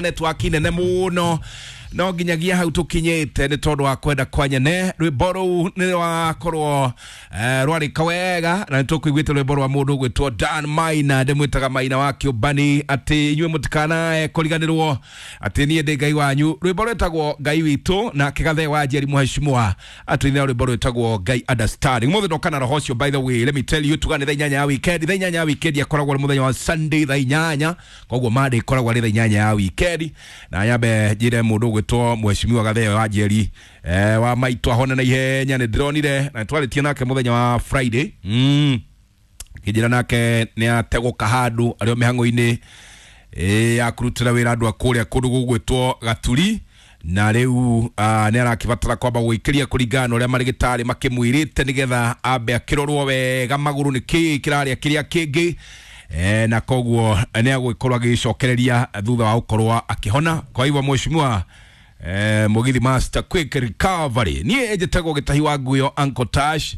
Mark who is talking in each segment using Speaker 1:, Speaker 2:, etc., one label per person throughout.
Speaker 1: Network nene muno no nginyagia hau tukinyite ni tondu wa kwenda kwa nyene. Rwimbo rũu nĩ rwakorwo rwarĩka wega na nĩtũkũiguĩte rwĩmbo rwa mũndũ ũgwĩtwo Dan Maina, ndĩmwĩtaga Maina wa Kĩũmbani, atĩ inyuĩ mũtikanae kũriganĩrwo atĩ niĩ ndĩ Ngai wanyu. Rwĩmbo rwĩtagwo Ngai witũ na kĩgathe wa Njeri mũheshimiwa atũinĩra rwĩmbo rwĩtagwo Ngai Understanding. Mũthĩ ndoka na roho ũcio. By the way, let me tell you, tuga nĩ thaa 8 ya weekend. Thaa 8 ya weekend akoragwo arĩ mũthenya wa Sunday thaa 8, koguo Monday ĩkoragwo arĩ thaa 8 ya weekend. Na nyambe njĩre mũndũ ũgwĩtwo mheshimiwa Gatheo wa Njeri wa maitũ ahone na ihenya. Nĩ ndĩronire na nĩtwarĩtie nake mũthenya wa Friday, kĩnjĩra nake nĩ ategũka handũ arĩ o mĩhang'o-inĩ ya kũrutĩra wĩra andũ a kũrĩa kũndũ gũgwĩtwo Gaturi, na rĩu nĩ arakĩbatara kwamba gũikĩria kũringana na ũrĩa marĩgĩtarĩ makĩmwĩrĩte nĩgetha ambe akĩrorwo wega magũrũ nĩ kĩĩ kĩrarĩa kĩrĩa kĩngĩ, na koguo nĩ agũgĩkorwo agĩcokereria thutha wa gũkorwo akĩhona. Kwa hivyo mheshimiwa Mugithi Master, quick recovery. Niĩ njĩtagwo Gĩtahi wa Nguyo, Uncle Tash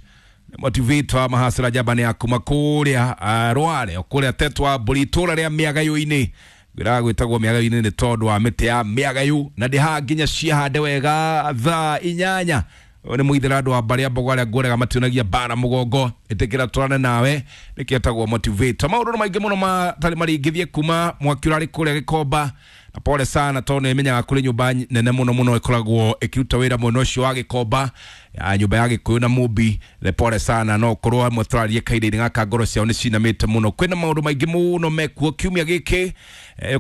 Speaker 1: motivator mahasira njamba ya kuma kũrĩa Rware o kũrĩa tetwa mbũri itũra rĩa mĩagayũ-inĩ. Ngwĩraga gwĩtagwo mĩagayũ-inĩ nĩ tondũ wa mĩtĩ ya mĩagayũ na ndĩhaga nginya ciahande wega thaa 8. Ũyũ nĩ mũithĩra andũ a mbarĩ a mbogo arĩa ngũrega mationagia mbara mũgongo ĩtĩkĩra tũrane nawe nĩkĩo etagwo motivator. Maũndũ nĩ maingĩ mũno matarĩ maringithie kuma mwaki ũrarĩ kũrĩa Gĩkomba, na pole sana tondũ nĩ menyaga kũrĩ nyũmba nene mũno mũno ĩkoragwo ĩkĩruta wĩra mwena ũcio wa Gĩkomba ya nyũmba ya Gĩkũyũ na Mũmbi. Nĩ pole sana, no korwo amwe tũrarie kahinda-inĩ gaka ngoro ciao nĩ cinamĩte mũno. Kwĩna maũndũ maingĩ mũno mekuo kiumia gĩkĩ.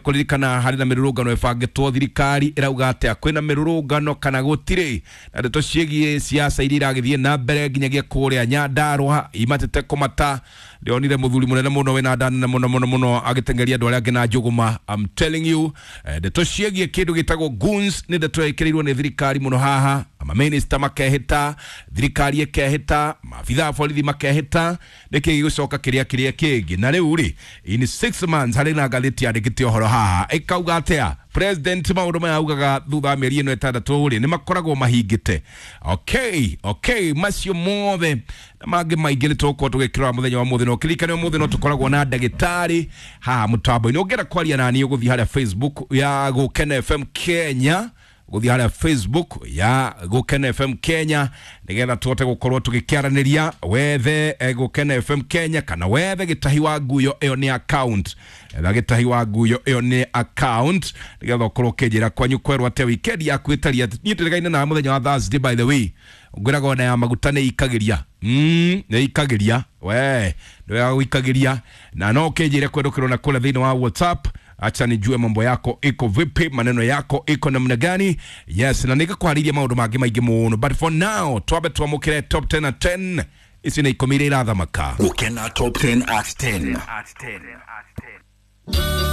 Speaker 1: Kũririkana harĩ na mĩrũrũngano ĩbangĩtwo, thirikari ĩrauga atĩa, kwĩna mĩrũrũngano kana gũtirĩ, na ndeto ciĩgiĩ siasa iria iragĩthiĩ na mbere nginyagia kũrĩa Nyandarũa imatĩte kũmata. Ndĩronire mũthuri mũnene mũno wĩna nda nene mũno mũno mũno agĩteng'eria andũ arĩa angĩ na njũgũma. I'm telling you, ndeto ciĩgiĩ kĩndũ gĩtagwo goons nĩ ndeto ĩkĩrĩirwo nĩ thirikari mũno haha. Mamĩnĩsta makehĩta, thirikari ĩkehĩta, maabitha a borithi makehĩta, nĩkĩ gĩgũcoka kĩrĩa kĩrĩa kĩngĩ. Na rĩu rĩ, in 6 months harĩ na ngathĩti yandĩkĩte ũhoro haha ĩkauga atĩa, president maũndũ maya augaga thutha wa mĩeri ĩno 6 rĩ nĩ makoragwo mahingĩte. Okay, macio mothe na mangĩ maingĩ nĩ tũgũkorwo tũgĩkĩrora mũthenya wa mũthĩ. No kĩririkane ũmũthĩ no tũkoragwo na ndagĩtarĩ haha mũtambo-inĩ. Ũngĩenda kwaria nani ũgũthiĩ harĩa Facebook ya Gũkena FM Kenya, gũthiĩ harĩa Facebook ya Gũkena FM Kenya nĩgetha tũhote gũkorwo tũgĩkĩaranĩria. Wethe Gũkena FM Kenya kana wethe Gĩtahi wa Nguyo, ĩyo nĩ account. Etha Gĩtahi wa Nguyo, ĩyo nĩ account, nĩgetha ũkorwo ũkĩnjĩra kwanyu kwerwo atĩa, weekend yaku ĩtariĩ atĩa. Niĩ tũrĩgaine na mũthenya wa Thursday. By the way, ngwĩraga ona ya maguta nĩ ikagĩria, nĩ ikagĩria we nĩ wega gũikagĩria, na no ũkĩnjĩre kwendũkĩrwo na kũrĩa thĩinĩ wa WhatsApp. Acha nijue mambo yako iko vipi, maneno yako iko namna gani? Yes, na nĩngĩkwarĩirie maũndũ mangĩ maingĩ mũno, but for now twambe twamũkĩre top 10 na 10 ici nĩ 10 iria irathamaka.
Speaker 2: Gukena Top 10 at 10.